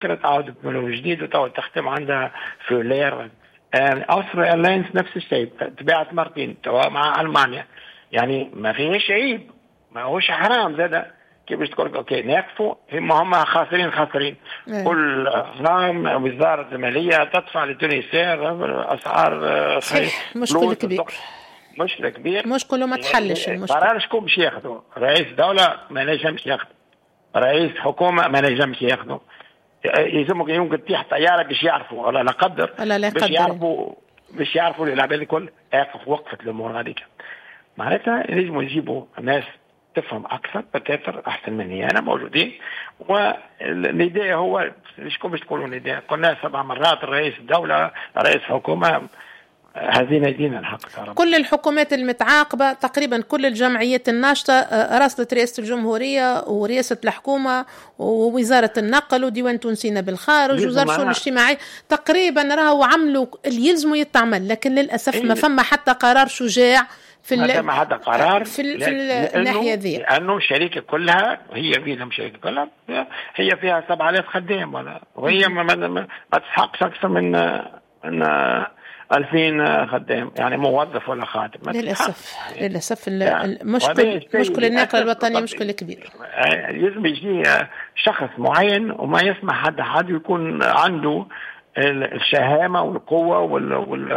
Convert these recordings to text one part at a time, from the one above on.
تعاود من جديد وتعاود تخدم عندها فولير. Austrian Airlines نفس الشيء، تباعت مرتين توا مع المانيا، يعني ما فيهش عيب، ما هوش حرام زاد كي باش تقول OK نقفوا، هم خاسرين خاسرين. كل عام وزارة المالية تدفع ل Tunisair اسعار. صحيح، مشكل كبير. مشكل كبير. مشكل وما تحلش المشكل. قرار شكون باش ياخذوا؟ رئيس دولة ما نجمش ياخذ، رئيس حكومة ما نجمش ياخذوا، يلزمك يمكن تطيح طيارة باش يعرفوا، ولا لا قدر، ولا لا باش يعرفوا، باش يعرفوا العباد الكل اقف وقفت الامور هذيك. معناتها لازم يجيبوا ناس تفهم اكثر peut-être احسن مني انا موجودين. والنداء هو شكون باش تقولوا نداء؟ قلنا 7 مرات، رئيس الدولة، رئيس حكومة، هذه يدينا الحق. كل الحكومات المتعاقبة تقريبا، كل الجمعيات الناشطة راسلت رئاسة الجمهورية ورئاسة الحكومة ووزارة النقل وديوان تونسينا بالخارج وزارة الشؤون الاجتماعية، تقريبا راهو عملوا اللي يلزموا يتعمل، لكن للأسف ما فما حتى قرار شجاع في ما حتى قرار في الناحية ذي، لأنه الشركة كلها هي فيها الشركة كلها هي فيها 7000 خدام، ولا وهي ما تسحقش أكثر من 2000 خدام، يعني موظف ولا خادم. للأسف يعني للأسف المشكل، مشكل الناقل الوطني مشكل كبير. لازم يجي شخص معين وما يسمح حد يكون عنده الشهامة والقوة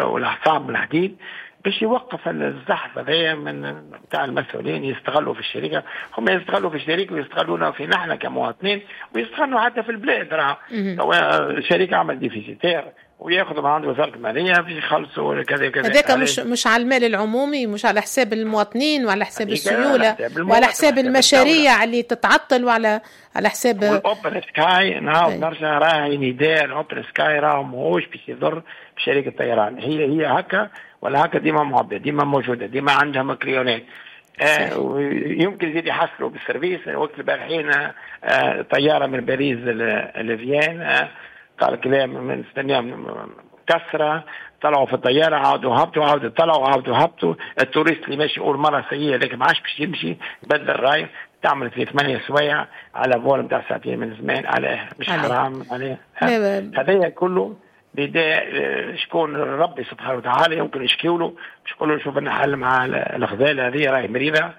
والأعصاب الحديد باش يوقف الزحف هذايا من بتاع المسؤولين. يستغلوا في الشركة، هم يستغلوا في الشركة ويستغلونا في نحن كمواطنين ويستغلوا حتى في البلاد. راه الشركة عمل déficitaire وياخذوا من عند وزارة المالية باش يخلصوا كذا كذا. هذاك مش على المال العمومي، مش على حساب المواطنين وعلى حساب السيولة وعلى حساب المشاريع اللي تتعطل وعلى على حساب ال open sky. نعاود نرجع، راهي نداء ال open sky راهو ماهوش باش يضر بشركه الطيران، هي هكا ولا هكا ديما معبيه، ديما موجودة، ديما عندها client ات. يمكن يزيد يحصلوا بال service. وقت البارحين طيارة من باريس لفيان، قال كلام من استنيهم كسرة، طلعوا في الطيارة عاودوا هبطوا، عاودوا طلعوا عاودوا هبطوا. ال touriste اللي ماشي أول مرة سيئة لكن ما عادش باش يمشي، بدل الراي تعمل في 8 سوايع على vol نتاع ساعتين من زمان، عليه مش حرام عليه. هذا كله بداية شكون ربي سبحانه وتعالى يمكن يشكيوا له باش يقولوا شوف لنا حل مع الغزالة هذه راهي مريضة،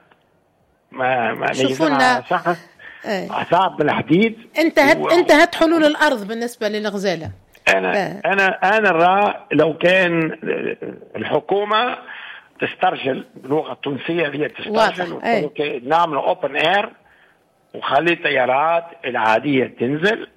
ما شوفوا شخص أعصاب بالحديد. انتهت حلول الأرض بالنسبة للغزالة. أنا رأى لو كان الحكومة تسترجل باللغة التونسية، هي تسترجل، نعمل open air وخلي الطيارات العادية تنزل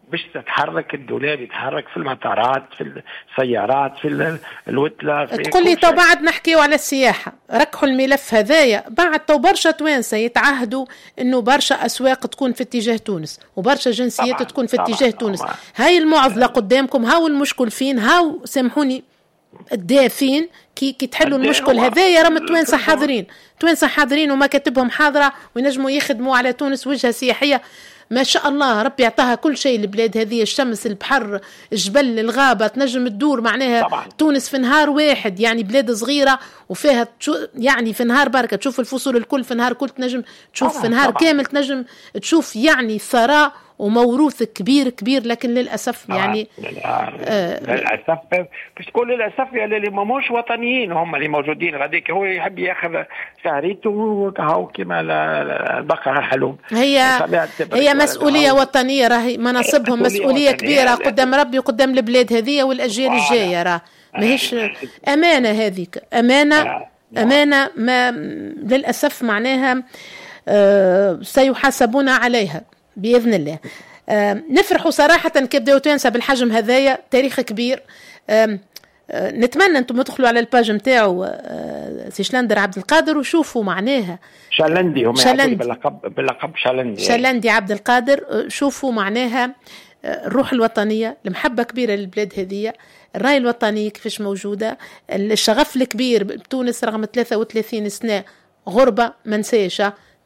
باش تتحرك، الدولاب يتحرك في المطارات، في السيارات، في الوتلة. تقول لي تو بعد نحكيو على السياحة، ركحوا الملف هذايا بعد تو برشا توانسة يتعهدوا انه برشا اسواق تكون في اتجاه تونس وبرشا جنسيات تكون في اتجاه تونس. هاي المعضلة قدامكم، هاو المشكل فين، هاو سامحوني الداء فين. كي تحلوا المشكل هذايا راهم التوانسة حاضرين، توانسة حاضرين ومكاتبهم حاضرة وينجموا يخدموا على تونس وجهة سياحية ما شاء الله، ربي يعطاها كل شيء البلاد هذه، الشمس، البحر، الجبل، الغابة، تنجم تدور معناها طبعا. تونس في نهار واحد، يعني بلاد صغيرة وفيها يعني في نهار بركة تشوف الفصول الكل، في نهار كل تنجم تشوف طبعا. في نهار طبعا. كامل تنجم تشوف يعني ثراء وموروث كبير كبير، لكن للأسف يعني للأسف باش تقول للأسف يعني اللي ماهوش وطنيين هم اللي موجودين غاديك، هو يحب ياخذ شهريته وكهو كما البقرة الحلوب. هي مسؤولية وطنية، راهي مناصبهم مسؤولية كبيرة قدام ربي وقدام البلاد هذه والأجيال الجاية، راه ماهيش أمانة، هذيك أمانة، أمانة ما للأسف معناها سيحاسبون عليها بإذن الله. نفرحوا صراحة كي بداو توانسة بالحجم هذايا، تاريخ كبير. نتمنى أنتم تدخلوا على ال page نتاعو سي شلندر عبد القادر وشوفوا معناها شلندي، هم شلندي باللقب شلندي، شلندي عبد القادر. شوفوا معناها الروح الوطنية، المحبة كبيرة للبلاد هذه، الرأي الوطني كيفاش موجودة، الشغف الكبير بتونس رغم 33 سنة غربة،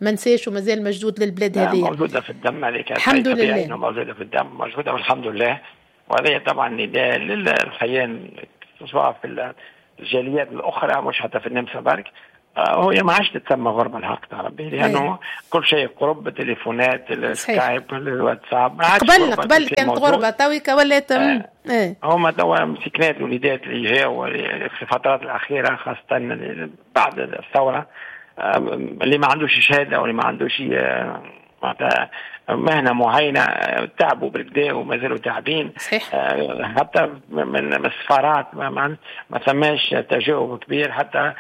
ما نساش ومازال مجدود للبلاد هذه، موجودة في الدم عليك، الحمد لله موجودة في الدم، موجودة والحمد لله. وهذا طبعا نداء للخيان سواء في الجاليات الأخرى مش حتى في النمسا برك، هو ما عادش تتسمى غربه الحق تاع ربي، لانه كل شيء قرب، التليفونات، السكايب، الواتساب. قبل كانت غربه، تويكا ولات هما توا مسكنات الوليدات اللي جاوا في الفترات الاخيرة خاصة بعد الثورة، اللي ما عندوش شهادة واللي ما عندوش معناتها مهنة معينة تعبوا بالكدا وما زالوا تعبين. صحيح. حتى من السفارات ما ثماش تجاوب كبير، حتى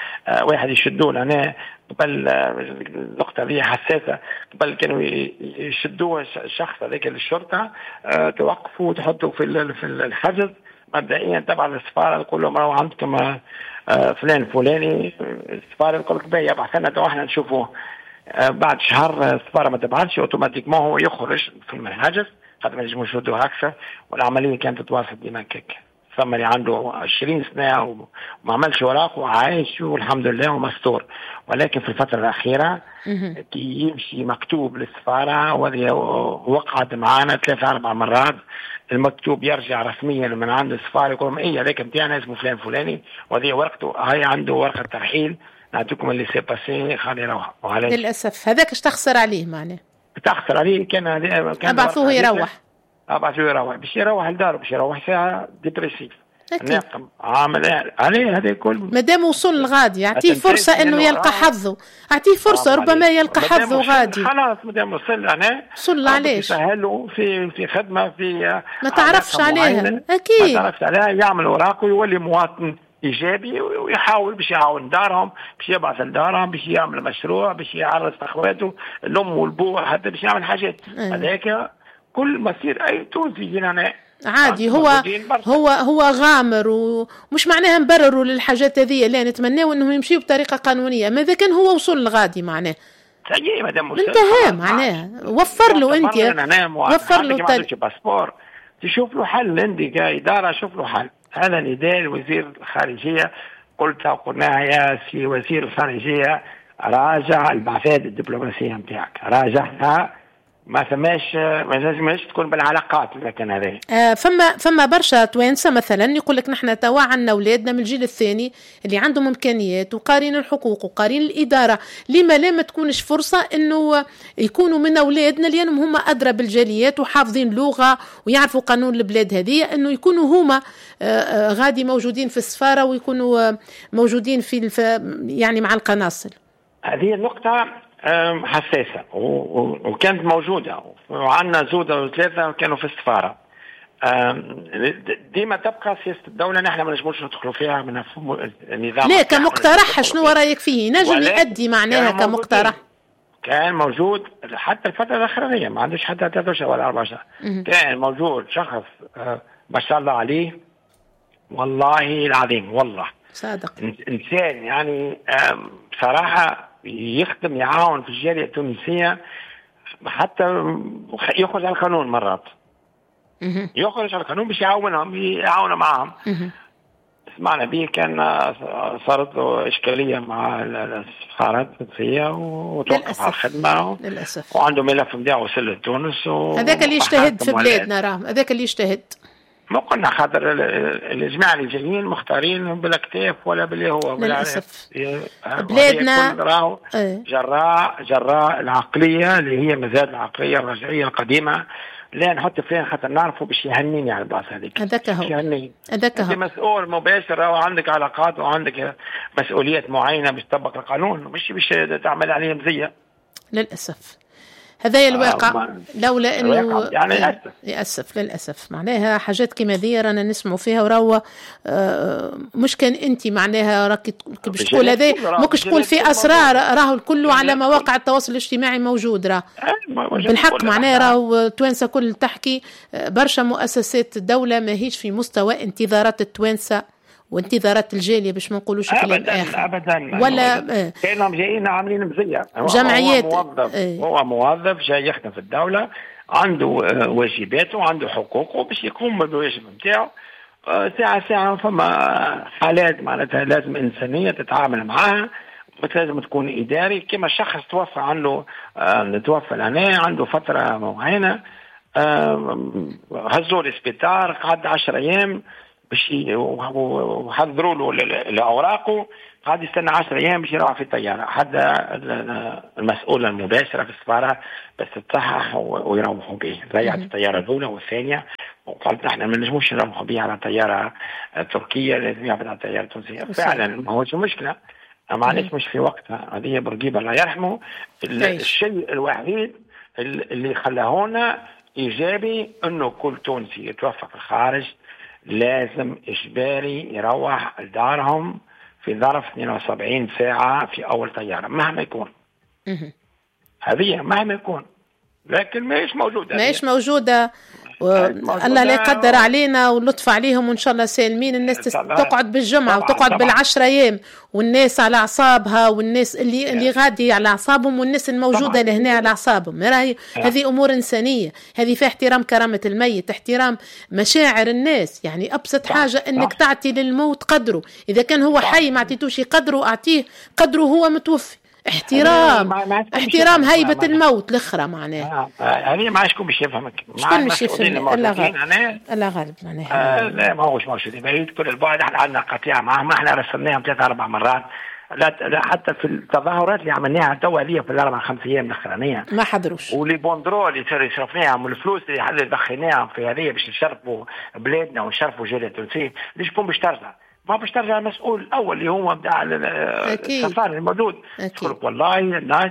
واحد يشدوه لهنا قبل. النقطة دي حساسة، قبل كانوا يشدوه الشخص هذاك للشرطة، توقفوا وتحطوا في الحجز مبدئيا تبع السفارة، تقول لهم راهو عندكم فلان فلاني، السفارة تقول لك باهي يبعث لنا تو احنا نشوفوه. بعد شهر السفارة ما تبعثش، automatiquement هو يخرج في الحجز خاطر ما ينجموش يشدوه اكثر، والعملية كانت تتواصل ديما كيك. ثم اللي عنده 20 سنة وما عملش اوراق وعايش والحمد لله ومستور، ولكن في الفترة الاخيرة كي يمشي مكتوب للسفاره، وهذه وقعت معانا 3-4 مرات، المكتوب يرجع رسميا من عند السفارة يقول لهم ايه هذاك نتاعنا اسمه فلان فلاني وهذه ورقته، هاي عنده ورقة ترحيل، نعطيكم ال laissez-passer خلي يروح. للاسف هذاك اش تخسر عليه معناه؟ تخسر عليه كان ابعثوه يروح، ابعثوه يروح باش يروح لداره، باش يروح ساعة dépressif ناقم عامل عليه هذا الكل. مادام وصل لغادي اعطيه فرصة انه يلقى حظه، اعطيه فرصة ربما يلقى حظه غادي. خلاص مادام وصل هنا وصل، علاش؟ يسهلوا في خدمة في ما تعرفش عليها، اكيد ما تعرفش عليها، يعمل اوراقه ويولي مواطن ايجابي ويحاول باش يعاون دارهم، باش يبعث لدارهم، باش يعمل مشروع، باش يعرس اخواته الام والبو، حتى باش يعمل حاجات. هذاك كل مصير اي تونسي هنا عادي. هو هو هو غامر، ومش معناها نبرروا للحاجات هذه، لا نتمناو انهم يمشيوا بطريقة قانونية. ما اذا كان هو وصل لغادي معناه انتهى، معناها وفر له انت، وفر له passeport، تشوف له حل عندي كادارة، شوف له حل. هذا نداء لوزير الخارجية، قلتها وقلناها يا سي وزير الخارجية، راجع البعثات الدبلوماسية نتاعك، راجعها، ما ثماش، ما لازمش تكون بالعلاقات. لكن هذا فما برشا توانسة مثلا يقول لك نحن توا عندنا اولادنا من الجيل الثاني اللي عندهم امكانيات وقارين الحقوق وقارين الادارة، لما لا ما تكونش فرصة انه يكونوا من اولادنا، لانهم هما ادرى بالجاليات وحافظين لغة ويعرفوا قانون البلاد هذه، انه يكونوا هما غادي موجودين في السفارة ويكونوا موجودين في يعني مع القناصل. هذه النقطة حساسة وكانت موجودة، وعندنا زودة وثلاثة كانوا في السفارة. ديما تبقى سياسة الدولة نحن ما نجموش ندخلوا فيها من النظام. لا كمقترح شنو رأيك فيه؟ نجم يؤدي معناها كمقترح؟ كان موجود حتى الفترة الأخرانية، ما عندوش حتى 3 شهور ولا 4 شهور، كان موجود شخص ما شاء الله عليه، والله العظيم، والله صادق، إنسان يعني بصراحة يخدم، يعاون في الجالية التونسية، حتى يخرج على القانون مرات، يخرج على القانون باش يعاونهم، يعاون معهم. سمعنا به كان صارت له إشكالية مع السفارة التونسية وتوقف على الخدمة للأسف، وعنده ملف نتاعو وصل لتونس. هذاك اللي يجتهد في بلادنا، راه هذاك اللي يجتهد. ما قلنا خاطر الجماعة اللي جايين مختارين بالاكتاف ولا باللي هو للأسف بلادنا جراء العقلية اللي هي مازال العقلية الرجعية القديمة. لا نحط فلان خاطر نعرفه باش يهنيني على البلاصة هذيك. هذاك هو، هذاك هو. انت مسؤول مباشر وعندك علاقات وعندك مسؤوليات معينة باش تطبق القانون، مش باش تعمل عليه مزية. للأسف هذا الواقع، لولا انه يعني للاسف للاسف معناها حاجات كيما ذي رانا نسمعوا فيها، وراو مش كان انت معناها راك باش تقول هذا، ماكش تقول في اسرار، راهو الكل على مواقع التواصل الاجتماعي موجود، راه بالحق معناها راهو توانسة كل تحكي. برشا مؤسسات الدولة ماهيش في مستوى انتظارات التوانسة وانتظارات الجالية، باش ما نقولوش كلام اخر. ابدا ولا كانهم جايين عاملين مزية جمعيات. هو موظف، هو موظف جاي يخدم في الدولة، عنده واجباته وعنده حقوقه باش يقوم بالواجب نتاعو. ساعة ساعة فما حالات معناتها لازم انسانيه تتعامل معاها، لازم تكون اداري. كما شخص توفى عنده توفى لهنا عنده فترة معينة، هزوه للسبيطار قعد 10 ايام، باش وحضروا له الاوراق، قاعد يستنى 10 ايام باش يروح في الطيارة. حتى المسؤولة المباشرة في السفارة بس تصحح ويروحوا به. ضيعت الطيارة الاولى والثانية، وقالت احنا ما نجموش نروحوا به على طيارة تركيه، لازم يهبط على الطيارة التونسية. فعلا ما هوش مشكلة، معلش مش في وقتها. هذه بورقيبة الله يرحمه. الشيء الوحيد اللي خلاهونا ايجابي انه كل تونسي يتوفى في الخارج لازم اجباري يروح لدارهم في ظرف 72 ساعة في اول طيارة مهما يكون. هذه مهما يكون، لكن ماهيش موجودة، ماهيش موجودة. الله لا يقدر علينا واللطف عليهم، وإن شاء الله سالمين. الناس تقعد بالجمعة وتقعد بال10 أيام، والناس على أعصابها، والناس اللي غادي على أعصابهم، والناس الموجودة لهنا على أعصابهم. هذه أمور إنسانية، هذه فيها احترام كرامة الميت، احترام مشاعر الناس. يعني أبسط حاجة أنك تعطي للموت قدره. إذا كان هو حي ما أعطيتوش قدره، أعطيه قدره هو متوفي. احترام احترام هيبة الموت الأخرى معناها. هذه ما شكون باش يفهمك، شكون باش يفهمك؟ الله غالب، الله غالب معناها. لا ما هوش موجودين بعيد كل البعد. احنا عندنا قطيعة معهم، احنا رسلناهم 3-4 مرات. لا حتى في التظاهرات اللي عملناها توا هذه في 4-5 ايام الاخرانية ما حضروش، و les banderoles اللي صرفناهم والفلوس اللي دخلناهم في هذه باش نشرفوا بلادنا ونشرفوا الجالية التونسية، ليش شكون باش ترجع؟ ما باش ترجع المسؤول الاول اللي هو بتاع السفارة الموجود. يقول والله الناس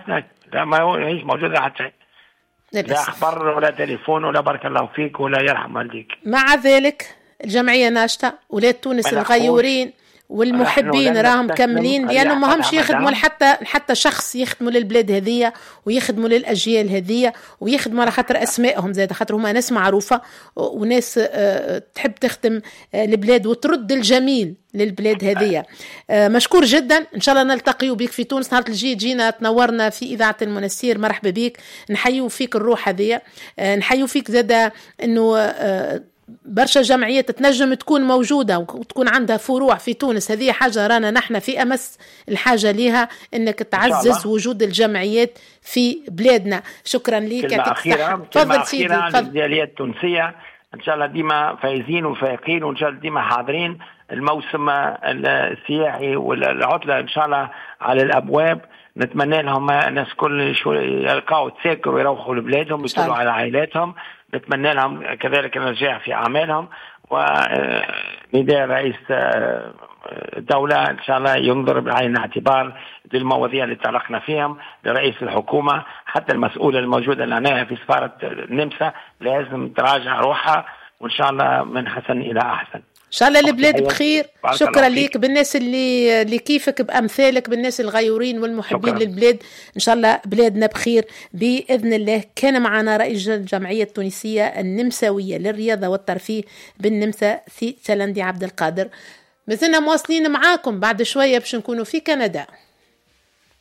لا ما هيش موجودة حتى شيء، لا اخبار ولا تليفون ولا بارك الله فيك ولا يرحم والديك. مع ذلك الجمعية ناشطة، ولاد تونس الغيورين والمحبين راهم كاملين، لانه ما همش يخدموا حتى شخص، يخدموا للبلاد هذية ويخدموا للاجيال هذية ويخدموا على خاطر اسمائهم زاد، خاطر هما ناس معروفة وناس تحب تخدم البلاد وترد الجميل للبلاد هذية. مشكور جدا، ان شاء الله نلتقي بك في تونس نهار الجاي، تجينا تنورنا في اذاعة المنستير. مرحبا بك، نحيو فيك الروح هذية، نحيو فيك زاد انه برشا جمعيات تنجم تكون موجودة وتكون عندها فروع في تونس. هذه حاجة رانا نحن في أمس الحاجة ليها، أنك تعزز وجود الجمعيات في بلادنا. شكرا لك. كلمة أخيرة، كلمة أخيرة للجالية التونسية، إن شاء الله ديما فايزين وفايقين، وإن شاء الله ديما حاضرين. الموسم السياحي والعطلة إن شاء الله على الأبواب، نتمنى لهم الناس كل يلقاو تساكر ويروحوا لبلادهم ويطلعوا على عائلاتهم. نتمنى لهم كذلك النجاح في أعمالهم. ونداء رئيس الدولة إن شاء الله ينظر بعين الاعتبار للمواضيع اللي تعلقنا فيهم، لرئيس الحكومة، حتى المسؤولة الموجودة لنا في سفارة النمسا لازم تراجع روحها، وإن شاء الله من حسن إلى أحسن. إن شاء الله البلاد بخير. شكرا ليك، بالناس اللي كيفك، بأمثالك، بالناس الغيورين والمحبين شكرا للبلاد. إن شاء الله بلادنا بخير بإذن الله. كان معنا رئيس الجمعية التونسية النمساوية للرياضة والترفيه بالنمسا سي سلندي عبد القادر. مازلنا مواصلين معاكم بعد شوية باش نكونوا في كندا.